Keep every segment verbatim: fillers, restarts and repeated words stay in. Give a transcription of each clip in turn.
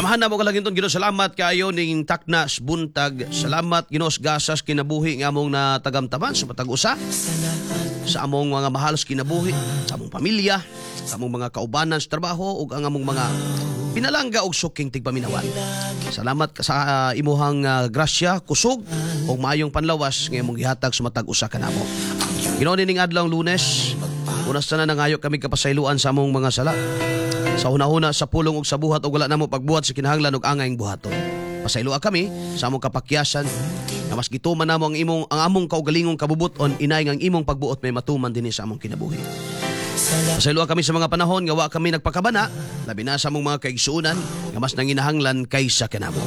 Amahan namo kalaginton Ginoo, salamat kaayo ning taknas buntag. Salamat, Ginoo, sa gasas kinabuhi nga among natagamtaman sa matag usa sa among mga mahal sa kinabuhi, sa among pamilya, sa among mga kaubanan sa trabaho ug ang among mga pinalangga og suking tigpaminawan. Salamat sa uh, imuhang uh, grasya, kusog ug maayong panlawas nga imong gihatag sa matag usa kanamo. Ginoo, ning adlaw Lunes, una sa tanan, nangayo kami kapasayloan sa among mga sala. Sa hunahuna, sa pulong ug sa buhat ug wala namo pagbuhat sa kinahanglan ug angayng buhaton. Pasayloa kami sa among kapakyasan nga mas gituman namo ang imong ang among kaugalingong kabubuton, inay nga ang imong pagbuot may matuman dinhi sa among kinabuhi. Pasayloa kami sa mga panahon nga wa kami nagpakabana, labi na sa among mga kaigsuonan nga mas nanginahanglan kaysa kanamo.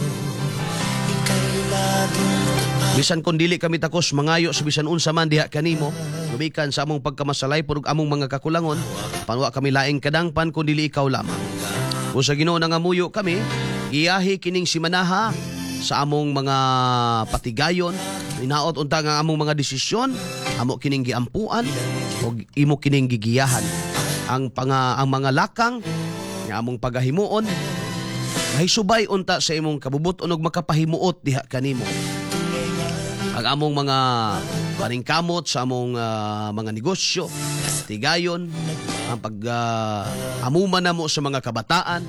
Bisan kung dili kami takos mangayo sa bisan unsa man diha kanimo, gumikan sa among pagkamasalay ug among mga kakulangon, apan wa kami laing kadangpan kun dili ikaw lamang. Kung sa Ginoo nangamuyo kami, giyahi kining simanaha sa among mga patigayon, inaot unta nga among mga desisyon, amo kining giampuan ug imo kining gigiyahan. Ang panga, ang mga lakang nga among pagahimuon, nahisubay unta sa imong kabubuton ug makapahimuot diha kanimo. Ang among mga paningkamot sa among ah, mga negosyo, tigayon, ang pag uh, amuman namo sa mga kabataan.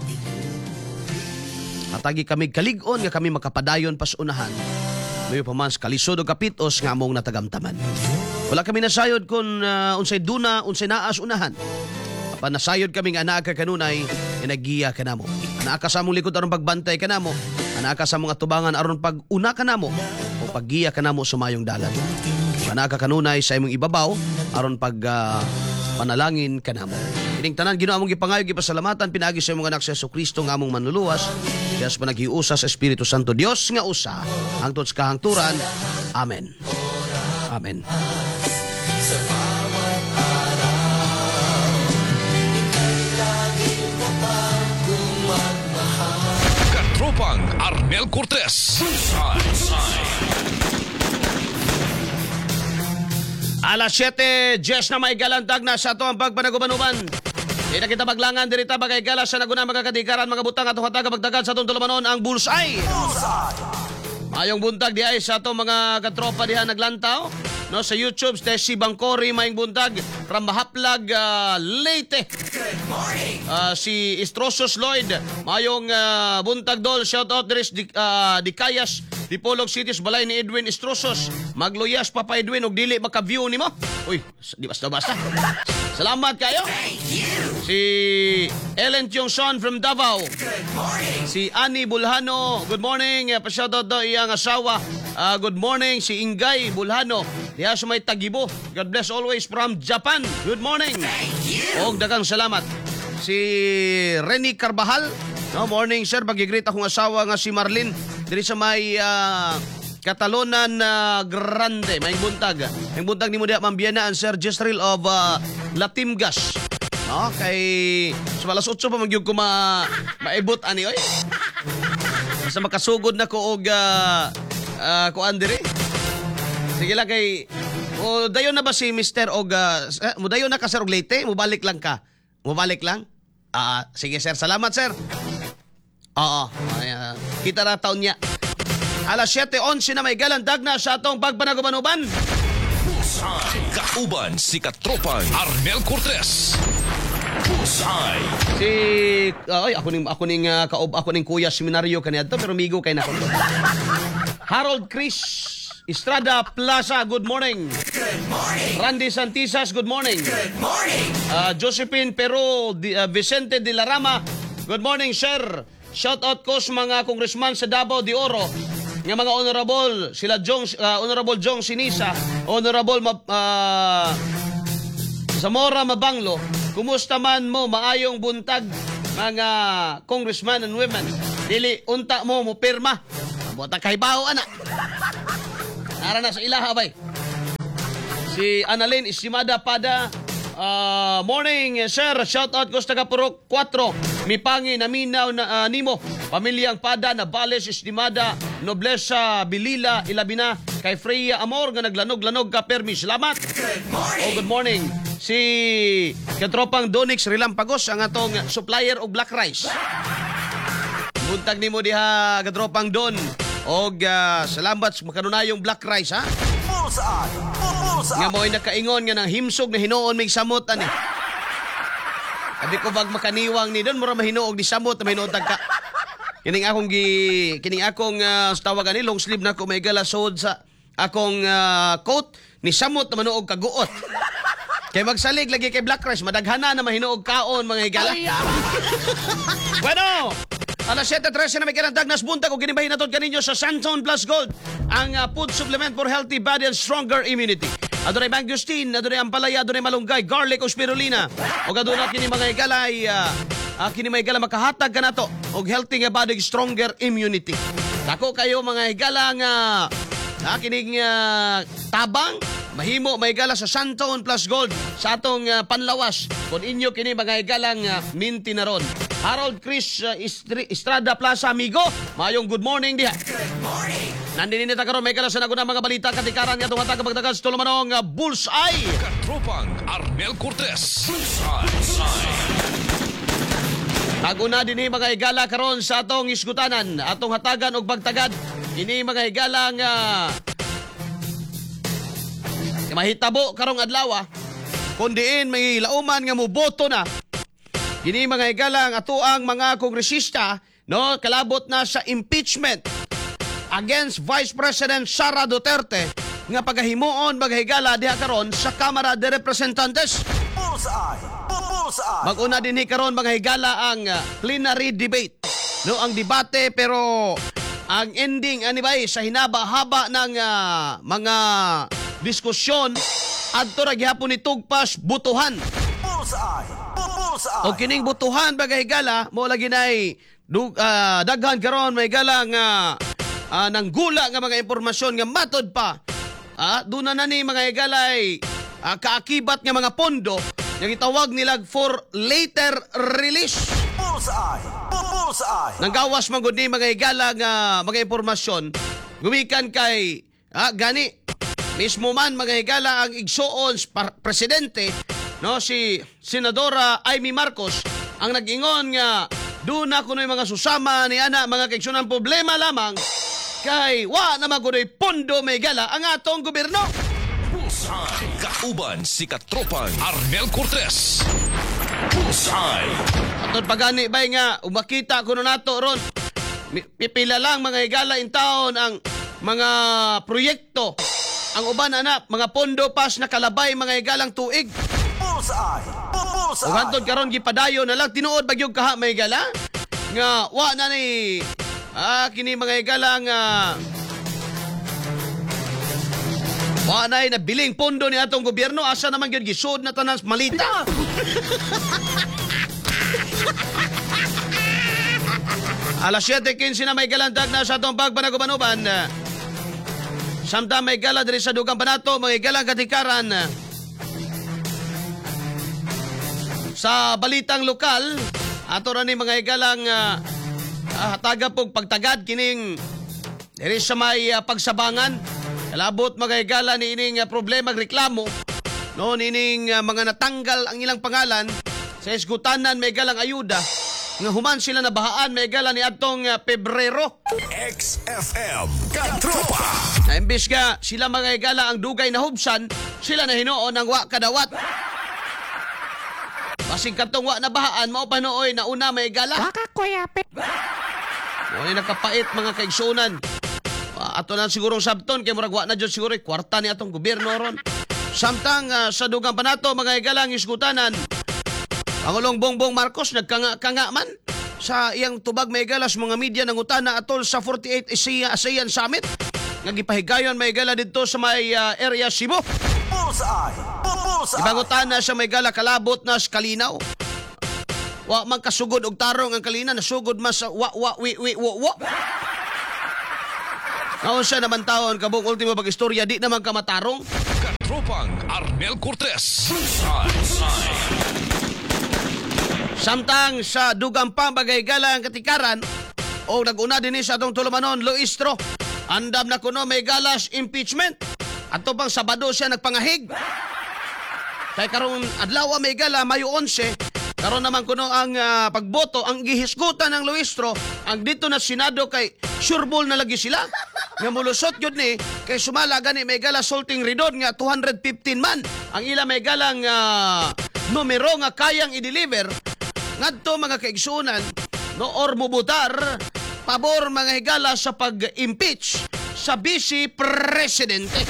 Hatagi kami kalig-on nga kami makapadayon pas unahan. Mayo pa man sa kalisod o kapitos nga among natagamtaman. Wala kami nasayod kung uh, unsay duna, unsay naa sa unahan. Apan nasayod kami nga anaa ka kanunay, naggiya kanamo. Anaa ka sa among likod aron pagbantay kanamo. Anaa ka sa among atubangan aron pag-una kanamo o paggiya kanamo sa mayong dalan. Anaa ka kanunay sa imong ibabaw aron pag ah, panalangin kanamo. Ining tanan, Ginoo, among gipangayo, gipasalamatan pinaagi sa imong anak sa Kristo nga among manluluwas. Kaya sa panaghiusa sa Espiritu Santo, Dios nga usa hangtod sa kahangturan. Amen. Amen. Sa bawat araw, ika'y laging tapat kung magmahal. Katropang Arnel Cortez. Bullseye. Alas siyete, Jess na may galantag na sa ato ang pagpanagubanuban. Di na kita maglangan dirita bagay gala sa naguna mga kadikaran, mga butang atong hataga pagdagan sa atong tulumanon, ang Bullseye. Mayong buntag di ay sa atong mga katropa diha naglantaw. No, sa YouTube, Tessie Bangkori, mayong buntag from Mahaplag, ah, Leyte. Ah, si Istrosos Lloyd, mayong ah, buntag dol, shout out diri di, ah, di Kayas, Dipolog City, sa balay ni Edwin Istrosos. Magluyas Papa Edwin og dili maka-view nimo. Uy, di basta basta. Salamat kayo. Si Ellen Tiongson from Davao. Si Annie Bulhano, good morning. Eh, Pa-shoutout daw iyang asawa. Ah, good morning si Ingay Bulhano. Diha sa may Tagibo. God bless always from Japan. Good morning. Og daghang salamat. Si Renny Carbajal. No, morning sir, pagi-greet akong asawa nga si Marlene diri sa may ah, Catalonan na Grande. May buntag. May buntag nimo diha, Ma'am Biana and Sir Jezreel of ah, Latimgas. No, kay sa alas otso pa man gyud ko ma maibot ani oy. Basta makasugod na ko og uh, uh, kuan diri. Sige lang kay o dayon na ba si Mister og uh, eh, mudayon na ka sir og Leyte, mubalik lang ka. Mubalik lang? Ah, sige sir, salamat sir. Oo, ay, ah, kita ra taon niya. Alas siyete onse na may galandag na sa atong pagpanagubanuban. Bullseye. Kauban si Katropang Arnel Cortez. Bullseye. Si ay, ako ning ako ning uh, kaob ako ning kuya seminaryo kaniadto pero migo kay nako. Harold Chris Estrada Plaza, good morning. Good morning. Randy Santisas, good morning. Good morning. Uh, Josephine Pero Di, uh, Vicente de la Rama, good morning sir. Shout out ko sa mga congressman sa Davao de Oro nga mga honorable sila Jong, uh, Honorable Jong Sinisa, Honorable Ma, uh, Zamora Mabanglo. Kumusta man mo? Maayong buntag mga congressman and women. Dili unta mo mo pirma. Bota kay baho ana. Ara na sa ilaha bay. Si Annalyn Istimada Pada, uh, morning sir, shout out ko sa taga Purok kwatro. Mipangi naminaw na uh, nimo. Pamilyang Pada, Nabales, Estimada, Noblesa, Bilila, Ilabina, kay Freya Amor nga naglanog-lanog ka permi. Salamat. Good morning. Oh, good morning. Si katropang Donix Relampagos, ang atong supplier og black rice. Buntag nimo diha katropang Don. Og uh, salamat sa makanunayong black rice ha. Bullseye! Bullseye! Nga mo'y nakaingon nga nang himsog na hinuon mig samot ani. Abi ko bag makaniwang ni Don mura mahinuog ni samot na mahinuog tagka. Kining akong gi kining akong uh, tawag ani long sleeve na ko may gala sod sa akong ah, coat ni samot na manuog kaguot. Kay magsalig lagi kay black rice madaghana na mahinuog kaon mga higala. Bueno, alas siyete trese na may kalandag nas buntag o ginibahin nato kaninyo sa Santon Plus Gold, ang uh, food supplement for healthy body and stronger immunity. Adunay mangosteen, adunay ampalaya, adunay malunggay, garlic o spirulina. O aduna kini mga higala ay uh, uh, kini mga higala makahatag kanato og healthy nga body, stronger immunity. Dako kayo mga higala nga uh, kining uh, tabang mahimo may gala sa Santon Plus Gold sa atong uh, panlawas kung inyo kini mga higalang uh, minti na ron. Harold Chris uh, Istri- Estrada Plaza amigo, mayong good morning diha. Nandini ta karon may gala sa naguna mga balita katikaran nga atong hatag pagdagan sa tulumanong uh, Bullseye. Katropang Arnel Cortez. Bullseye. Naguna dinhi mga higala karon sa atong isgutanan, atong hatagan og pagtagad kini mga higala nga mahitabo karong adlaw kun diin may lauman nga moboto na kini mga higala ang atoang mga kongresista, no, kalabot na sa impeachment against Vice President Sara Duterte nga pagahimuon mga higala diha karon sa Kamara de Representantes. Bullseye! Bullseye! Mag-una dinhi karon mga higala ang uh, plenary debate. No, ang debate, pero ang ending ani bay sa hinaba-haba ng ah, mga diskusyon adto ra gihapon ni tugpas butuhan. Bullseye! Bullseye! O kining butuhan mga higala mo lagi nay dug, ah, daghan karon may higala nga ah, nanggula nga mga impormasyon nga matod pa ah, doon na na ni mga higalay ah, kaakibat nga mga pondo nga gitawag nila for later release. Bullseye! Bullseye! Nanggawas man gud ni mga higala nga mga impormasyon gumikan kay ah, gani mismo man mga higala ang igsuon sa par- presidente, no, si Senadora Imee Marcos ang nag-ingon nga doon na kuno'y mga susama ni ana mga kaigsunan, problema lamang kay wa na man kuno'y pondo may higala ang atong gobyerno. Bullseye. Kauban si Katropang Arnel Cortez. Bullseye. Atod pagani bay nga umakita kuno nato ron. Mi- Pipila lang mga higala in town ang mga proyekto. Ang uban ana mga pondo pas nakalabay mga higalang tuig. Bullseye! Bullseye! Ug hantod karon gipadayon na lang, tinuod bagyog kaha may higala nga wa na ni ah kini mga higala nga wa na nabiling pondo ni atong gobyerno, asa naman gyud gisud na tanan sa malita. Alas siyete kinse na may galandag na sa atong pagbanagubanuban. Samtang may gala diri sa dugang panato, mga galang katikaran. Sa balitang lokal, ato ra ni mga higalang uh, hataga pog pagtagad kining diri sa may ah, pagsabangan. Kalabot mga higala ni ining ah, problema reklamo no nining ah, mga natanggal ang ilang pangalan sa esgutanan may galang ayuda nga human sila nabahaan may gala ni atong ah, Pebrero. X F M Katropa. Na imbis nga sila mga higala ang dugay na hubsan, sila na hinuon ang wa kadawat. Basig katong wa na bahaan, mao pa nooy na una may gala. Mo ni nakapait mga kaigsunan. Ah, ato na siguro sabton kay murag wa na jud siguro kwarta ni atong gobyerno ron. Samtang ah, sa dugang panato mga higalang isgutanan, Pangulong Bongbong Marcos nagkanga-kanga man sa iyang tubag may gala sa mga media ng utana atol sa forty-eight ASEAN, ASEAN Summit nga gipahigayon may gala didto sa may ah, area Cebu. Bullseye! Bullseye! Ibangutana sa may gala kalabot na sa kalinaw. Wa man kasugod og tarong ang kalina, nasugod mas sa wa wa wi wi wo wo. Naunsa naman taon kabuk ultimo pag istorya di naman ka matarong. Katropang Arnel Cortez. Bullseye. Samtang sa dugang pambagay-gala ang katikaran o nag-una din sa atong tulumanon Luistro. Andam na kuno may galas impeachment. Ato pang Sabado siya nagpangahig. Kay karong adlaw may gala Mayo onse, Karon naman kuno ang ah, pagboto, ang gihisgutan ng Luistro, ang dito na Senado kay sureball na lagi sila. Nga mulusot gyud ni kay sumala gani may gala sulting ridon nga two hundred fifteen man ang ila may galang ah, numero nga kayang i-deliver ngadto, mga kaigsuonan, no, or mubutar pabor, mga higala, sa pag-impeach sa Vice Presidente.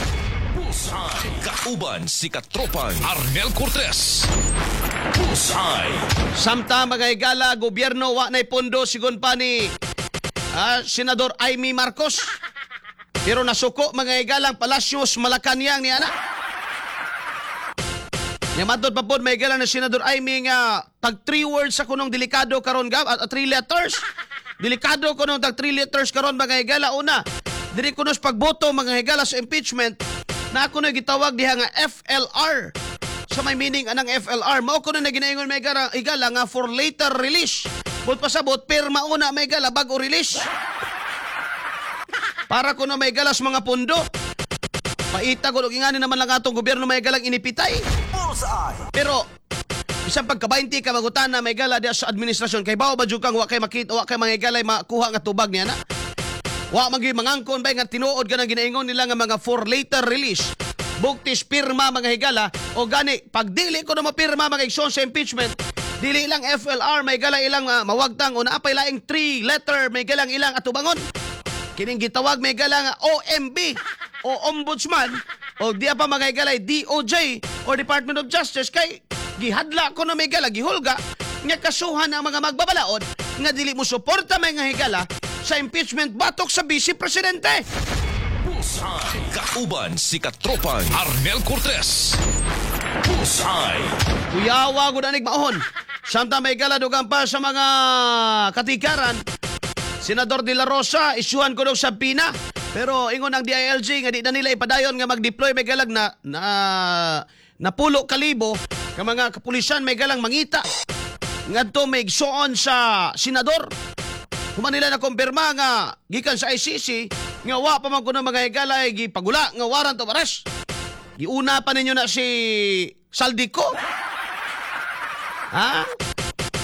Bullseye. Kauban si Katropang Arnel Cortez. Bullseye. Samtang, mga higala, gobyerno wa nay pondo sigon pa ni ah, Senador Imee Marcos. Pero nasuko, mga higalang, Palacios Malacanang ni ana. Nya matod pa pod, may higala, ni Senador Imee nga tag three words sa kunong delikado karon gab at three letters. Delikado kunong tag three letters karon, mga higala. Una, diri kuno sa pagboto, mga higala, sa impeachment na ako na gitawag diha nga F L R. Sa may meaning anang F L R, mao kuno na ginaingon, may higala, higala nga for later release. But pasabot pirma una, may higala, bago release. Para kuno may galas mga pundo. Paita ko ingani naman lang atong gobyerno, may galang inipitay. Bullseye. Pero bisan pagka twenty ka magutana, may gala, diya sa administrasyon kay bao ba jud kang wa kay makita, wa kay mga galay makuha nga tubag niya na. Wa man gyud mangangkon bay nga tinuod ka ng ginaingon nila nga mga for later release. Bugtis pirma, mga higala, o gani pag dili ko na mapirma, mga igsoon, sa impeachment, dili lang F L R may gala ilang uh, mawagtang o naapay laing three letter may galang ilang atubangon. Kining gitawag may gala nga O M B o Ombudsman o diya pa, mga higalay, D O J o Department of Justice kay gihadla ko na may gala, gihulga nga kasuhan ang mga magbabalaod nga dili mo suporta, mga higala, sa impeachment batok sa Vice Presidente. Bullseye. Kauban si Katropang Arnel Cortez. Bullseye. Kuyawa gud anig maohon. Samtang may gala, dugang pa sa mga katikaran, Senador De La Rosa, isyuhan ko sa pina. Pero ingon ang D I L G nga di na nila ipadayon nga mag-deploy may galag na na napulo kalibo ka mga kapulisan may galang mangita ngadto may igsuon sa senador. Human nila na kumpirma nga gikan sa I C C nga wa pa man kuno, mga higala, gipagula nga warrant of arrest. Giuna pa ninyo na si Zaldy Co. Ha?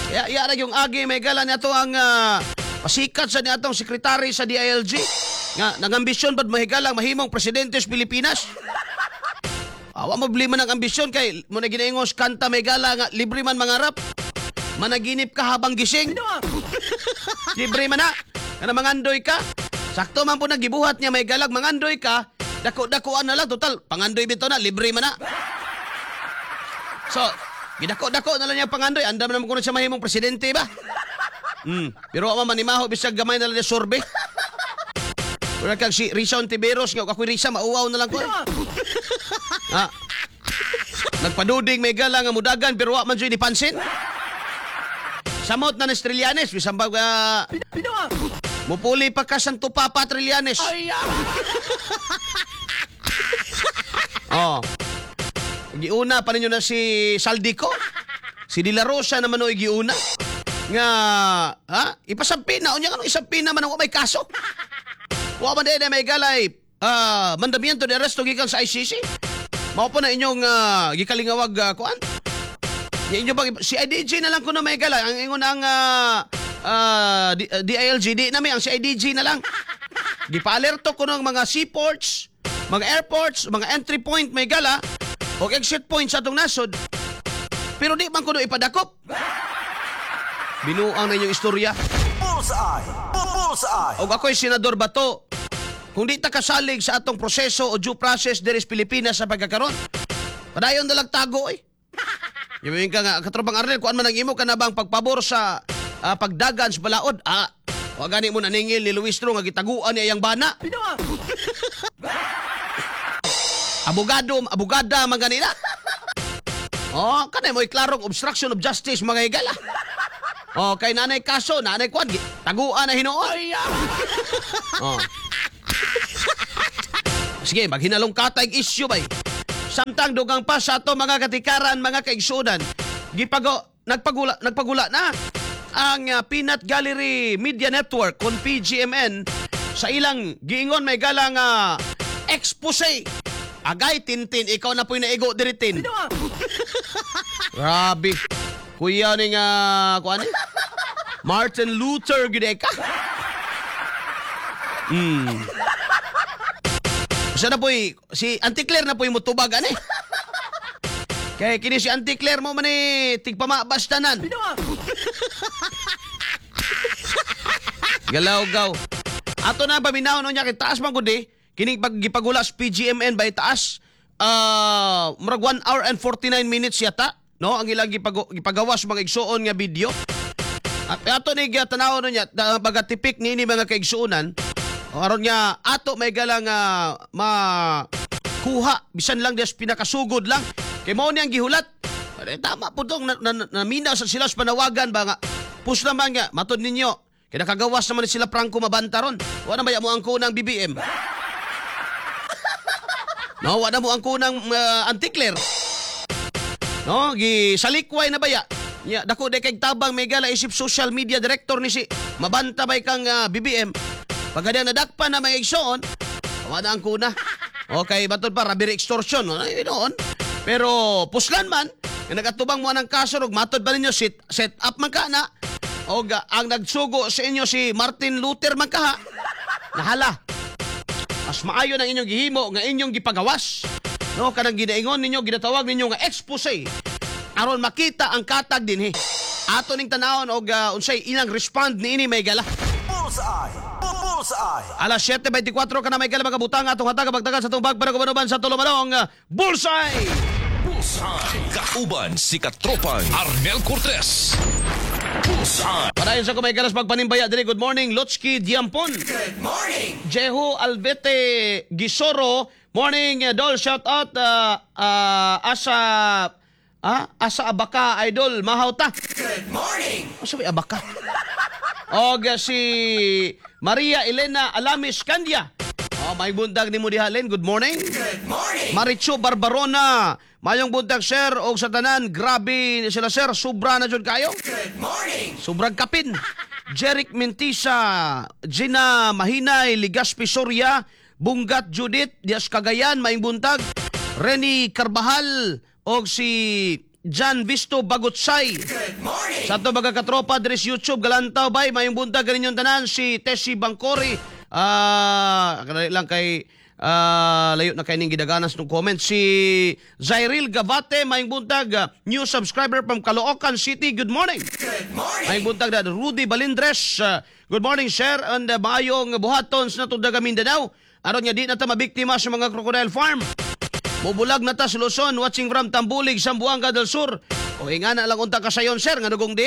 Ya, ya ra yung agi may gala niya ang ah, pasikat sa niatong sekretary sa D I L G nga nangambisyon bad mahigalang mahimong presidente sa Pilipinas. Awa mo man ang ambisyon kay mo na ginaingos kanta, may gala, nga libre man mangarap. Managinip ka habang gising. Libre man na. Kana mangandoy ka. Sakto man po nagibuhat niya, may galag mangandoy ka. Dako-dakoan na lang, total pangandoy bitaw na, libre man na. So, gidako-dako na lang niya pangandoy. Andam naman kuno siya mahimong presidente ba? Hmm. Pero wa man manimaho bisag gamay na lang niya survey. Wala kang si Risa Ontiveros nga ako'y Risa mauwaw na lang ko. Ah. Nagpaduding may gala nga mudagan pero wa man jud pansin. Samot na ni Trillanes bisan ba uh, mupuli pa ka Santo Papa Trillanes. Oh. Giuna pa ninyo na si Zaldy Co. Si De La Rosa naman o giuna. Nga, ha? Ipasampina. Unya nga isampina man ang may kaso. Wa man din may galay ah, mandamiento de arresto gikan sa I C C. Mao po na inyong uh, gikalingawag uh, kuan. Ya, inyo bang si I D G na lang kuno may galay ang ingon ang uh, uh, D- uh, D I L G di nami ang C I D G na lang. Gipaalerto kuno ang mga seaports, mga airports, mga entry point may gala o exit point sa atong nasod. Pero di man kuno ipadakop. Binuang na inyong istorya. Bullseye. Bullseye. Og ako'y Senador Bato. Kung di ta kasalig sa atong proseso o due process diri sa Pilipinas sa pagkakaron, padayon na lang tago eh. Yung ka nga, Katropang Arnel, kuan man ang imo ka na bang pagpabor sa ah, pagdagan sa balaod? Ah, wa gani mo naningil ni Luistro nga gitaguan niya iyang bana. Abogado, abogada man ganina. Oh, kanay mo'y klarong obstruction of justice, mga higala. Oh, kay nanay kaso, nanay kuan, gi- taguan na hinuon. Oh. Sige, maghinalong katay issue bay. Samtang dugang pa sa ato mga katikaran, mga kaigsunan, gipago nagpagula nagpagula na ang uh, Peanut Gallery Media Network kon P G M N sa ilang giingon may galang uh, expose. Agay Tintin, ikaw na po'y naigo diri, Tin. Grabe. Kuya ni nga kuan ni? Martin Luther gid ka. Hmm. Sa na po'y, si Auntie Claire na po'y mutubag ani. Kay kini si Auntie Claire mo man ni tigpamabas tanan. Galaw-gaw. Ato na paminaw no niya kay taas man gud eh. Kining pag gipagulas P G M N by taas. Uh, murag one hour and forty-nine minutes yata, no? Ang ilang gipago, gipagawas mga igsuon nga video. At ato ni tanaw no niya pagatipik niini mga kaigsuonan. Aron nga ato may galang uh, makuha bisan lang des pinakasugod lang. Kay mao niyang gihulat. Eh, tama po dong na, na, namina sa sila sa panawagan ba nga push naman nga matod ninyo. Kaya nakagawas naman sila Franco Mabanta ron. Wa na baya mo ang kunang B B M. No, wa na mo ang kunang uh, Auntie Claire. No, gisalikway na baya. Ya, dako day kay tabang may gala isip social media director ni si Mabanta bay kang uh, B B M. Pagkadya nadakpan na may igsoon, wa na ang kuna. Okay, batod pa robbery extortion, no, noon. Pero puslan man, nga nagatubang mo ang kaso ug matod pa ninyo set, set up man ka na. Og ang nagsugo sa inyo si Martin Luther man kaha. Nahala. Mas maayo ng inyong gihimo nga inyong gipagawas. No, kanang ginaingon ninyo, ginatawag ninyo nga expose. Aron makita ang katag dinhi. Ato ning tanawon og uh, unsay ilang respond niini may gala. Bullseye. Bullseye. Alas siyete beintikwatro ka na may gala mga butang atong hatag pagtagal sa tubag para kumanuban sa tulumanong Bullseye. Bullseye. Kauban si Katropang Arnel Cortez. Bullseye. Padayon sa kumay galas pagpanimbaya diri. Good morning Lotski Diampon. Good morning. Jehu Alvete Gisoro. Morning Dol, shout out uh, uh, asa ah, asa Abaka idol mahawta. Good morning. Asa may Abaka? Og si Maria Elena Alamis Candia. Oh, may buntag nimo diha Len. Good morning. Good morning. Marichu Barbarona. Mayong buntag sir og sa tanan. Grabe sila sir, sobra na jud kayo. Good morning. Sobrang kapin. Jeric Mentisa, Gina Mahinay, Ligaspi Soria, Bunggat Judith, Dias Cagayan, maayong buntag. Renny Carbajal og si John Visto Bagutsay. Good morning. Sa ato mga katropa diri sa YouTube galantaw bay mayong buntag kaninyong tanan si Tessie Bangkori. Ah, uh, lang kay uh, layo na kay ning gidaganas ng comment si Zairil Gavate, mayong buntag, uh, new subscriber from Caloocan City. Good morning. Good morning. Mayong buntag na Rudy Balindres. Uh, good morning sir and uh, maayong buhaton sa natong daga Mindanao. Aron nga di na ta mabiktima sa mga crocodile farm. Mubulag na ta sa Luzon, watching from Tambulig, Zamboanga del Sur. O ingana lang unta ka sayon sir, nga nugong di.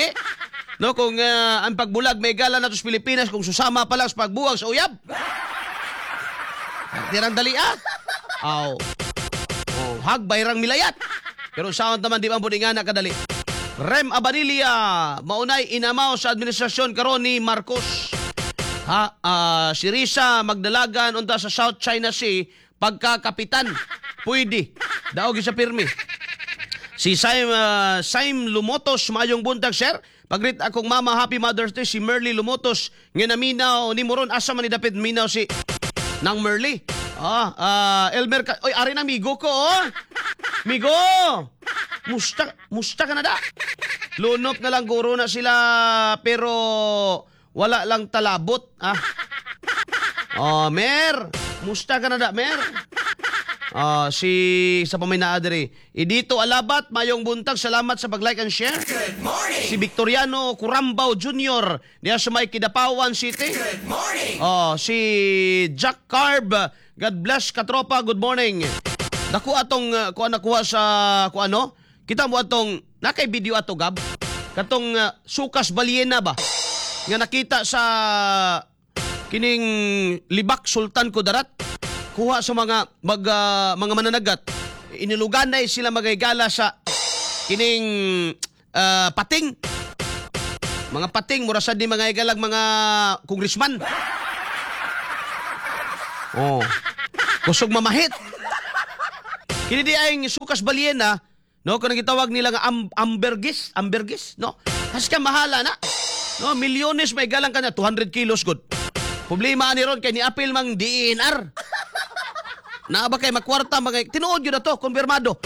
No, kung uh, ang pagbulag may gala na to sa Pilipinas, kung susama pa lang sa pagbuwag sa uyab. Tirang dali ah. Aw. Oh, hagbayrang milayat. Pero sound naman di man pud ingana kadali. Rem Abanilia, maunay inamaw sa administrasyon karon ni Marcos. Ha, uh, si Risa magdalagan unta sa South China Sea pagkakapitan. Pwede. Daog sa pirmi. Si Saim, uh, Saim Lumotos, mayong buntag, sir. Pagrit akong mama, happy Mother's Day, si Merly Lumotos. Nga naminaw ni Moron, asa man ni dapit minaw si nang Merly. Ah, uh, Elmer, ka- oy, ari na migo ko, oh. Migo! Musta, musta ka na da. Lunop na lang guro na sila, pero wala lang talabot. Ah. Oh, Mer! Musta ka na da, Mer? Ah, si sa paminaa diri. Idito Alabat, mayong buntag, salamat sa pag-like and share. Good morning. Si Victoriano Curambaw Junior diya sa may Kidapawan City. Good morning. Oh, si Jack Carb, God bless katropa, good morning. Nakuha atong uh, kuha nakuha sa kuha ano? Kita mo atong nakay video ato Gab. Katong uh, sukas balyena ba? Nga nakita sa kining Libak Sultan Kudarat. Kuha sa mga mag, uh, mga mananagat. Iniluganay sila magaygala sa kining uh, pating. Mga pating mura sad ni mga igalag mga congressman. Oh. Kusog mamahit. Kini di ay sukas balyena, no, kung gitawag nila nga am, ambergis, ambergis, no. Has ka mahala na. No, milyones may galang ka na two hundred kilos good. Problema ani ron kay ni-appeal mang D N R. Naa ba kay makwarta mga tinuod yun na to, konfirmado.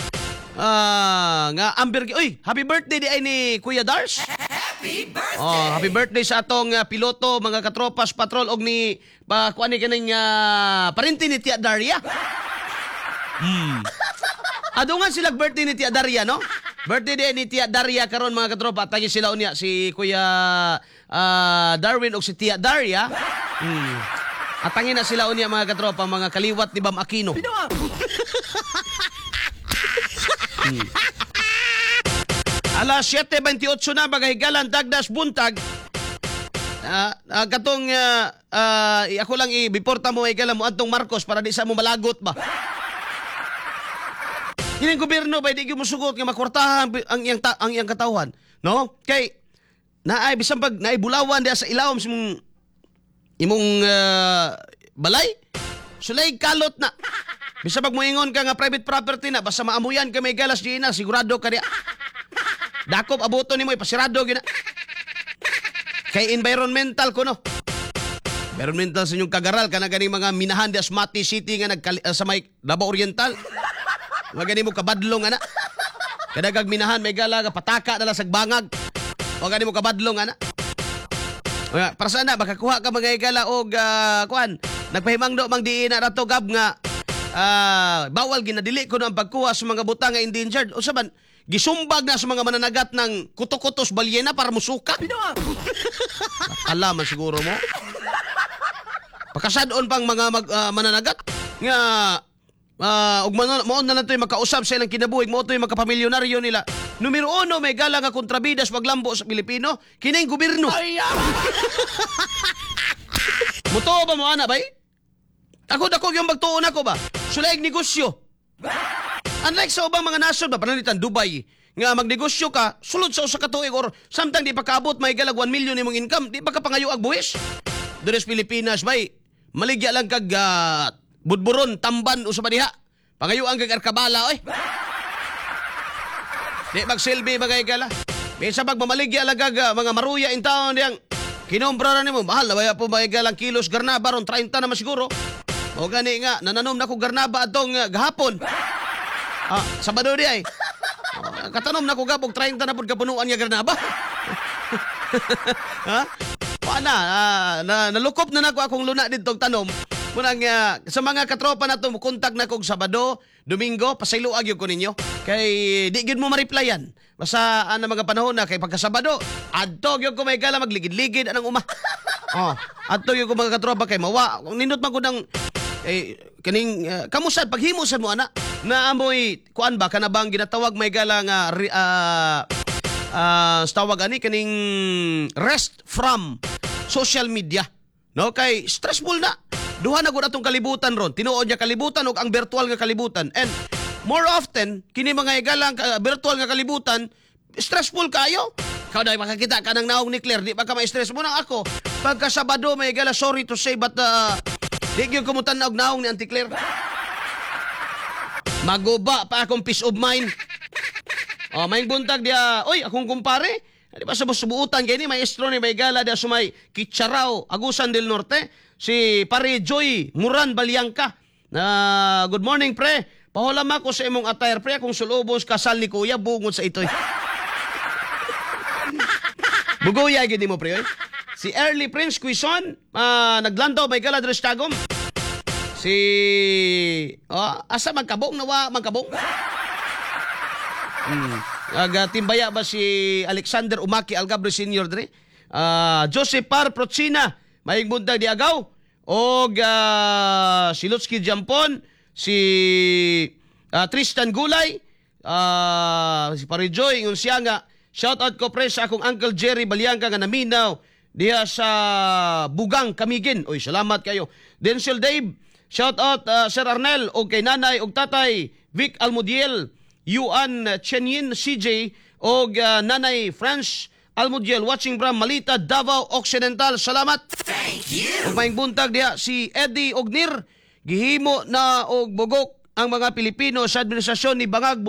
Ah, nga Amber, uy, happy birthday di ay ni Kuya Dars. Happy birthday! Oh, happy birthday sa atong ah, piloto, mga katropas patrol og ni pa kuan ni kaning uh, parente ni Tia Daria. Hmm. Adungan sila birthday ni Tia Daria, no? Birthday day ni Tia Daria karon, mga katropa. Tagi sila unya si Kuya ah, Darwin og si Tia Daria. Hmm. Atangin na sila unya, mga katropa, mga kaliwat ni Bam Aquino. Hmm. Alas siyete bentiocho na, mga higalan, dagdas buntag. Ah, ah, katong ah, ah, ako lang i-before ta mo higala mo adtong Marcos para di sa mo malagot ba. Kining gobyerno ba, di gyud mosugot nga makwartahan ang ang iyang ta- ang iyang katawhan, no? Kay naay bisan pag naay bulawan diha sa ilawom sa imong imong ah, balay, sulay kalot na. Bisan pag moingon ka nga private property na, basta maamuyan ka may galas di na, sigurado ka diha. Dakop abuto nimo, ipasirado gyud na. Kay environmental ko, no. Environmental sa inyong kagaral kana ganing mga minahan di Mati City nga nagkali, uh, sa may Davao Oriental. Mga gani mo kabadlong ana. Kadagag minahan may gala nga pataka na lang sa bangag. O gani mo kabadlong ana. Oya, para sana makakuha ka mga higala og uh, kuan. Nagpahimangdo mang diin na rato gab nga ah, bawal ginadili ko ang pagkuha sa mga butang nga endangered. Usa man gisumbag na sa mga mananagat ng kuto-kutos balyena para musuka. Alam man siguro mo. Pakasadon pang mga mag, ah, mananagat nga uh, ug man, mao na lang to'y makausab sa ilang kinabuhi, mao to'y makapamilyonaryo nila. Numero uno may gala nga kontrabidas paglambo sa Pilipino, kining gobyerno. Mutuo ba mo ana bay? Ako dako yung magtuon ako ba? Sulaig negosyo. Unlike sa ubang mga nasod ba, pananglitan Dubai, nga magnegosyo ka, sulod sa usa ka tuig or samtang di pa kaabot may galag one million imong income, di pa ka pangayo ag buwis. Diri sa Pilipinas bay, maligya lang kag ah, budburon, tamban usa pa diha. Pangayuan kag arkabala oy. Di magsilbi mga higala. Minsan pag mamaligya lang kag ah, mga maruya in town diyang kinumpra na nimo, mahal na baya po mga higalang kilos garnaba ron trenta naman siguro. O gani nga, nananom na ko garnaba atong ah, gahapon. Ah, Sabado di ay. Oh, katanom na ko gabog trenta na pud kapunuan nga garnaba. Ha? Wala, ah, na, nalukop na nako akong luna dito og tanom. Munang ah, sa mga katropa na to, kontak na kog Sabado, Domingo, pasayloa gyud ko ninyo. Kay di gyud mo ma-replyan. Basta ana mga panahon na kay pagka Sabado, adto gyud ko may gala magligid-ligid anang uma. Oh, adto gyud ko mga katropa kay mawa. Kung nindot man ko ng eh, kaning uh, kamusad paghimo sad mo ana na amoy kuan ba kana bang ginatawag may gala nga ri- ah ah, sa tawag ani kaning rest from social media, no? Kay stressful na, duha na gud atong kalibutan ron, tinuod nga kalibutan ug ang virtual nga kalibutan, and more often kini mga higalang uh, virtual nga kalibutan stressful kayo. Ikaw dahil makakita ka ng naong ni Claire, di ba ka ma-stress mo nang ako pagka Sabado may higala, sorry to say, but uh, di gyud ko mutan-aw og naong ni Auntie Claire. Maguba pa akong peace of mind. Oh, may buntag diya. Oy, akong kumpare. Di ba sa subuutan kay ni maestro ni may gala diya sumay Kitcharao, Agusan del Norte, si Pare Joy Muran Balyangka. Na good morning, pre. Pahulam ako sa imong attire, pre, akong sulubos kasal ni kuya bungod sa itoy. Bugoya gid mo, pre, oy. Si Early Prince Quizon, ah, naglandaw may gala diri sa Tagum. Si oh, asa magkabong nawa magkabong? Hmm. Aga timbaya ba si Alexander Umaki Algabre Senior dre? Ah, Joseph Par Procina, maayong buntag di agaw. Og ah, si Lutski Jampon, si ah, Tristan Gulay, ah, si Pare Joy ingon siya nga shout out ko, pre, sa akong Uncle Jerry Balyangka nga naminaw diha sa Bugang Camiguin. Oy, salamat kayo. Denzel Dave, shout out ah, Sir Arnel og kay nanay og tatay Vic Almudiel, Yuan Chenyin C J og ah, nanay Franz Almudiel watching from Malita, Davao Occidental. Salamat. Thank you. Ug maayong buntag diha si Eddie Ognir, gihimo na og bugok ang mga Pilipino sa administrasyon ni Bangag.